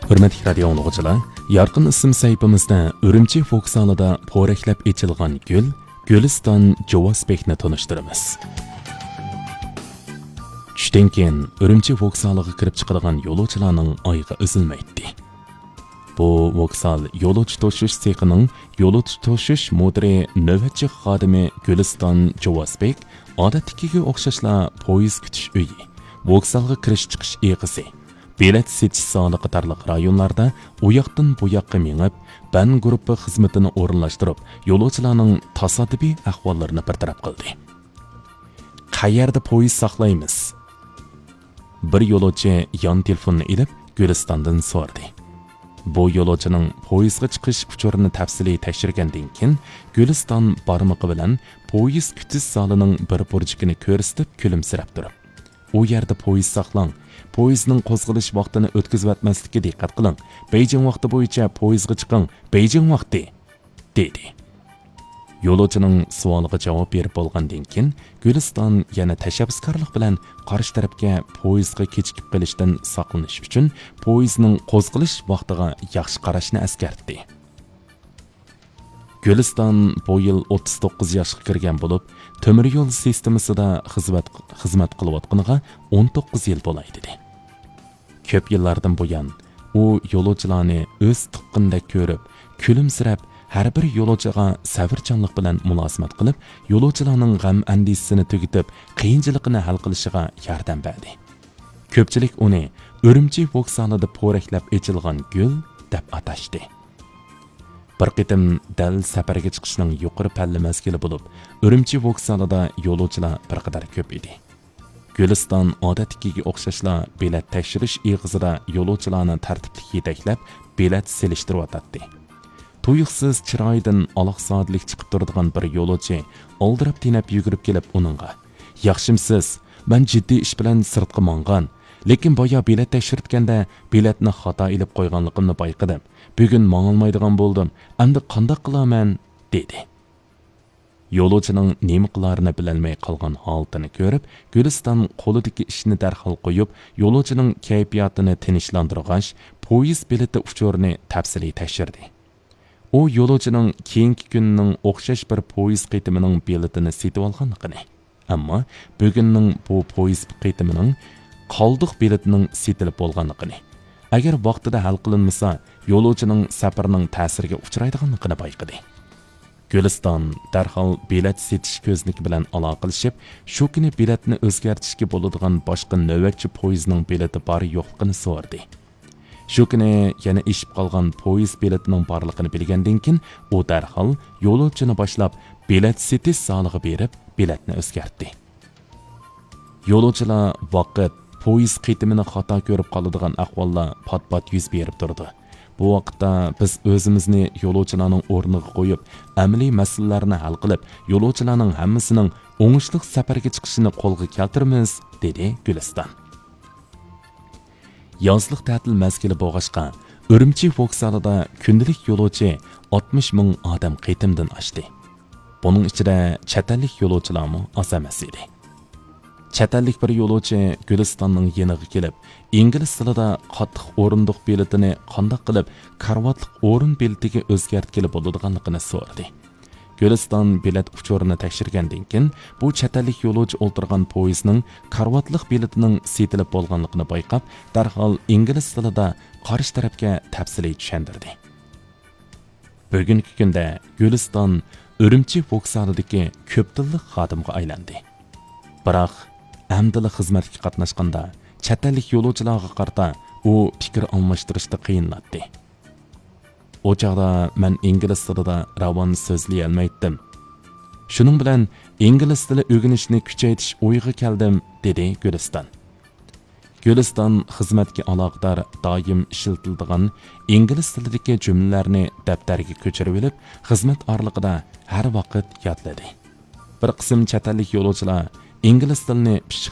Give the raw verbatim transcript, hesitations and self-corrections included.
ھۆرمەتلىك رادىيو ئاڭلىغۇچىلار، يارقىن ئىسىم سەھىپىمىزدە ئۈرۈمچى ۋوگزالىدا پورەكلەپ ئېچىلغان گۈل گۈلىستان جوۋاسبېكنى تونۇشتۇرىمىز. چۈشتىن كېيىن ئۈرۈمچى ۋوگزالىغا كىرىپ چىقىدىغان يولۇچىلارنىڭ ئايىغى ئۈزۈلمەيتتى. بۇ ۋوگزال يولۇچى توشۇش سېخىنىڭ يولۇچى توشۇش مۇدىرى نۆۋەتچى خادىمى گۈلىستان جوۋاسبېك ئادەتتىكىگە ئوخشاشلا پويىز كۈتۈش ئۆيى، ۋوگزالغا كىرىش چىقىش ئېغىزى، بېلەت سېتىش زالى قاتارلىق رايونلاردا ئۇياقتىن بۇياققا مېڭىپ، بەن گۇرۇپپا خىزمىتىنى ئورۇنلاشتۇرۇپ، يولۇچىلارنىڭ تاسادىپىي ئەھۋاللىرىنى بىر تەرەپ قىلدى. قەيەردە پويىز ساقلايمىز؟ بىر يولۇچى يان تېلېفوننى ئېلىپ، گۈلىستاندىن سورىدى. بۇ يولۇچىنىڭ پويىزغا چىقىش ئۇچۇرىنى تەپسىلىي تەكشۈرگەندىن كېيىن، گۈلىستان بارمىقى بىلەن پويىز كۈتۈش زالىنىڭ بىر بۇرجىكىنى كۆرسىتىپ كۈلۈمسىرەپ تۇرۇپ، ئۇ يەردە پويىز ساقلاڭ، پويىزنىڭ قوزغىلىش ۋاقتىنى ئۆتكۈزۈۋەتمەسلىككە دىققەت قىلىڭ، بېيجىڭ ۋاقتى بويىچە پويىزغا چىقىڭ، بېيجىڭ ۋاقتى! دېدى. يولۇچىنىڭ سوئالىغا جاۋاب بېرىپ بولغاندىن كېيىن، گۈلىستان يەنە تەشەببۇسكارلىق بىلەن قارشى تەرەپكە پويىزغا كېچىكىپ قېلىشتىن ساقلىنىش ئۈچۈن پويىزنىڭ قوزغىلىش ۋاقتىغا ياخشى قاراشنى ئەسكەرتتى. گۈلىستان بۇ يىل ئوتتۇز توققۇز ياشقا كىرگەن بولۇپ، تۆمۈر يول سىستېمىسىدا خىزمەت، خىزمەت قىلىۋاتقىنىغا ئون توققۇز يىل بولاي، دېدى. كۆپ يىللاردىن بۇيان، ئۇ يولۇچىلارنى ئۆز تۇغقىنىدەك كۆرۈپ، كۈلۈمسىرەپ، ھەر بىر يولۇچىغا سەۋرچانلىق بىلەن مۇلازىمەت قىلىپ، يولۇچىلارنىڭ غەم-ئەندىشىسىنى تۈگىتىپ، قىيىنچىلىقىنى ھەل قىلىشىغا ياردەم بەردى. كۆپچىلىك ئۇنى ئۈرۈمچى ۋوگزالىدا پورەكلەپ ئېچىلغان گۈل دەپ ئاتاشتى. بىر قېتىم دەل سەپەرگە چىقىشنىڭ يۇقىرى پەللە مەزگىلى بولۇپ، ئۈرۈمچى ۋوگزالىدا يولۇچىلار بىر قەدەر كۆپ ئىدى. گۈلىستان ئادەتتىكىگە ئوخشاشلا بېلەت تەكشۈرۈش ئېغىزىدا يولۇچىلارنى تەرتىپلىك يېتەكلەپ، بېلەت سېلىشتۇرۇۋاتاتتى. تۇيۇقسىز چىرايىدىن ئالاقزادىلىك چىقىپ تۇرىدىغان بىر يولۇچى ئالدىراپ-تېنەپ يۈگۈرۈپ كېلىپ ئۇنىڭغا، «ياخشىمسىز؟ مەن جىددىي ئىش بىلەن سىرتقا ماڭغان، لېكىن بايا بېلەت تەكشۈرتكەندە بېلەتنى خاتا ئېلىپ قويغانلىقىمنى بايقىدىم. بۈگۈن ماڭالمايدىغان بولدۇم. ئەمدى قانداق قىلارمەن؟» دېدى. يولۇچىنىڭ نېمە قىلارىنى بىلەلمەي قالغان ھالىتىنى كۆرۈپ، گۈلىستان قولىدىكى ئىشنى دەرھال قويۇپ، يولۇچىنىڭ كەيپىياتىنى تىنچلاندۇرغاچ، پويىز بېلىتى ئۇچۇرىنى تەپسىلىي تەكشۈردى. ئۇ يولۇچىنىڭ كېيىنكى كۈنىنىڭ ئوخشاش بىر پويىز قېتىمىنىڭ بېلىتىنى سېتىۋالغانلىقىنى، ئەمما بۈگۈننىڭ بۇ پويىز قېتىمىنىڭ قالدۇق بېلىتىنىڭ سېتىلىپ بولغانلىقىنى، ئەگەر ۋاقتىدا ھەل قىلىنمىسا، يولۇچىنىڭ سەپىرىنىڭ تەسىرىگە ئۇچرايدىغانلىقىنى بايقىدى. گۈلىستان دەرھال بېلەت سېتىش كۆزنىكى بىلەن ئالاقىلىشىپ، شۇ كۈنى بېلەتنى ئۆزگەرتىشكە بولىدىغان باشقا نۆۋەتچى پويىزنىڭ بېلىتى بار يوقلۇقىنى سورىدى. شۇ كۈنى يەنە ئېشىپ قالغان پويىز بېلىتىنىڭ بارلىقىنى بىلگەندىن كېيىن، ئۇ دەرھال يولۇچىنى باشلاپ، بېلەت سېتىش زالىغا بېرىپ، بېلەتنى ئۆزگەرتتى. يولۇچىلار ۋاقىت، پويىز قېتىمىنى خاتا كۆرۈپ قالىدىغان ئەھۋاللار پات-پات يۈز بېرىپ تۇرىدۇ. بۇ ۋاقىتتا بىز ئۆزىمىزنى يولۇچىلارنىڭ ئورنىغا قويۇپ، ئەمەلىي مەسىلىلەرنى ھەل قىلىپ، يولۇچىلارنىڭ ھەممىسىنىڭ ئوڭۇشلۇق سەپەرگە چىقىشىنى قولغا كەلتۈرىمىز، دېدى گۈلىستان. يازلىق تەتىل مەزگىلى بولغاچقا، ئۈرۈمچى ۋوگزالىدا كۈندىلىك يولۇچى ئاتمىش مىڭ ئادەم قېتىمدىن ئاشتى. بۇنىڭ ئىچىدە چەت ئەللىك يولۇچىلارمۇ ئاز ئەمەس ئىدى. چەت ئەللىك بىر يولۇچى گۈلىستاننىڭ يېنىغا كېلىپ، ئىنگلىز تىلىدا قاتلىق ئورۇندۇق بېلىتىنى قانداق قىلىپ كارىۋاتلىق ئورۇن بېلىتىگە ئۆزگەرتكىلى بولىدىغانلىقىنى سورىدى. گۈلىستان بېلەت ئۇچۇرىنى تەكشۈرگەندىن كېيىن، بۇ چەت ئەللىك يولۇچى ئولتۇرغان پويىزنىڭ كارىۋاتلىق بېلىتىنىڭ سېتىلىپ بولغانلىقىنى بايقاپ، دەرھال ئىنگلىز تىلىدا قارشى تەرەپكە تەپسىلىي چۈشەندۈردى. بۈگۈنكى كۈندە گۈلىستان ئۈرۈمچى ۋوگزالىدىكى كۆپ تىللىق خادىمغا ئايلاندى. بىراق، ئەمدىلا خىزمەتكە قاتناشقاندا، چەت ئەللىك يولۇچىلارغا قارىتا ئۇ پىكىر ئالماشتۇرۇشتا قىيىنلاتتى. ئۇ چاغدا مەن ئىنگلىز تىلىدا راۋان سۆزلىيەلمەيتتىم. شۇنىڭ بىلەن ئىنگلىز تىلى ئۆگىنىشنى كۈچەيتىش ئويىغا كەلدىم، دېدى گۈلىستان. گۈلىستان خىزمەتكە ئالاقىدار دائىم ئىشلىتىلىدىغان ئىنگلىز تىلىدىكى جۈملىلەرنى دەپتەرگە كۆچۈرۈۋېلىپ، خىزمەت ئارىلىقىدا ھەر ۋاقىت يادلىدى. بىر قىسىم چەت ئەللىك يولۇچىلار ئىنگلىز تىلىنى پىششىق